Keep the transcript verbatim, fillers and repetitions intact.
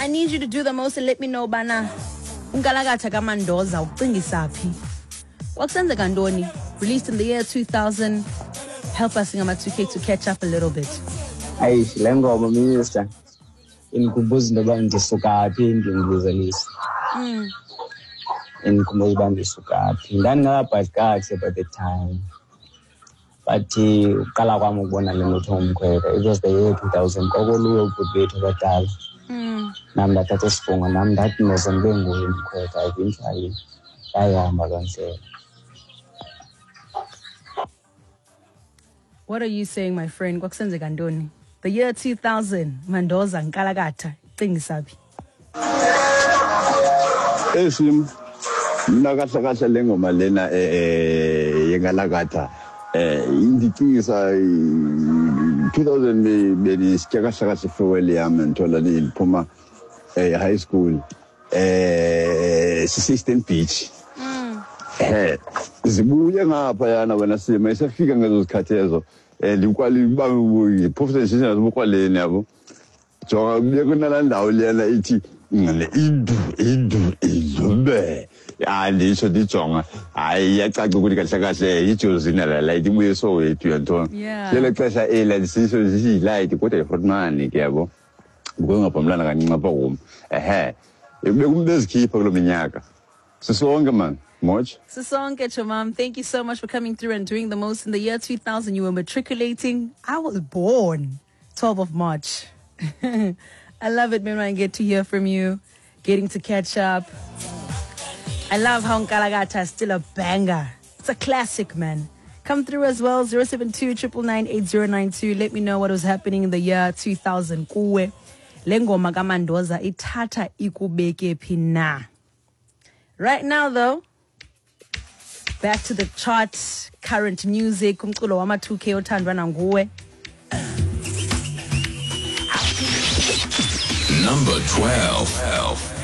I need you to do the most and let me know bana unkalakatha kaMandoza ucingisa phi. Kwakusenzeka ntoni? Released in the year two thousand. Help us in two K to catch up a little bit. Ayi, le ngoma minister indikhumbuza into yoba ndisuka phi, ndindibuzelisa. Mm. Indikhumbuza uba ndisuka phi. Ndandingakabhali kakuhle by the time. But uqala kwam ukubona le nto umkhwetha, it was the year two thousand. Kwakoluwe ubhuti bethu abadala. Mm. Nam ndathatha isifungo, nam ndathi noze ndibe nguye umkhwetha. Eventually yayihamba loo ndlela. What are you saying, my friend? Kwakusenzeka ntoni? The year two thousand, Mandoza nkalakatha, cingisa phi? Esim, mna kahle kahle le ngoma lena eh yenkalakatha eh indicingisa two thousand bendisitya kahle kahle farewell yam ndithola ndiphuma eh high school eh sise-Eastern Beach. Eh zibuye ngapha yana wena sima isafika ngezo zikhathi ezo eh ndikwali ba professor sibukwaleni yabo. Jonga kuye kunala ndawo lena ithi le idu idu idube. Ya ndisho ndijonga hayi iyacaca ukuthi kahle kahle ijozina la light ibuye Soweto yantoni. Lelo xesha ela ndisisho siyi-light kodwa yiFrontman ke yabo. Ngokungaphambilana kancinci apha kum. Ehe. Bekubezikhipha kulo minyaka. Sisonke man. Much. Sisonke Chomam, thank you so much for coming through and doing the most. In the year two thousand, you were matriculating. I was born twelfth of March. I love it when I get to hear from you, getting to catch up. I love how Nkalakatha is still a banger. It's a classic, man. Come through as well, zero seven two, triple nine, eight zero nine two. Let me know what was happening in the year two thousand. Kuwe. Le ngoma kaMandoza ithatha ikubeke phi na. Right now, though, back to the chart, current music, umculo wama two K othandwa nanguwe. Number twelve.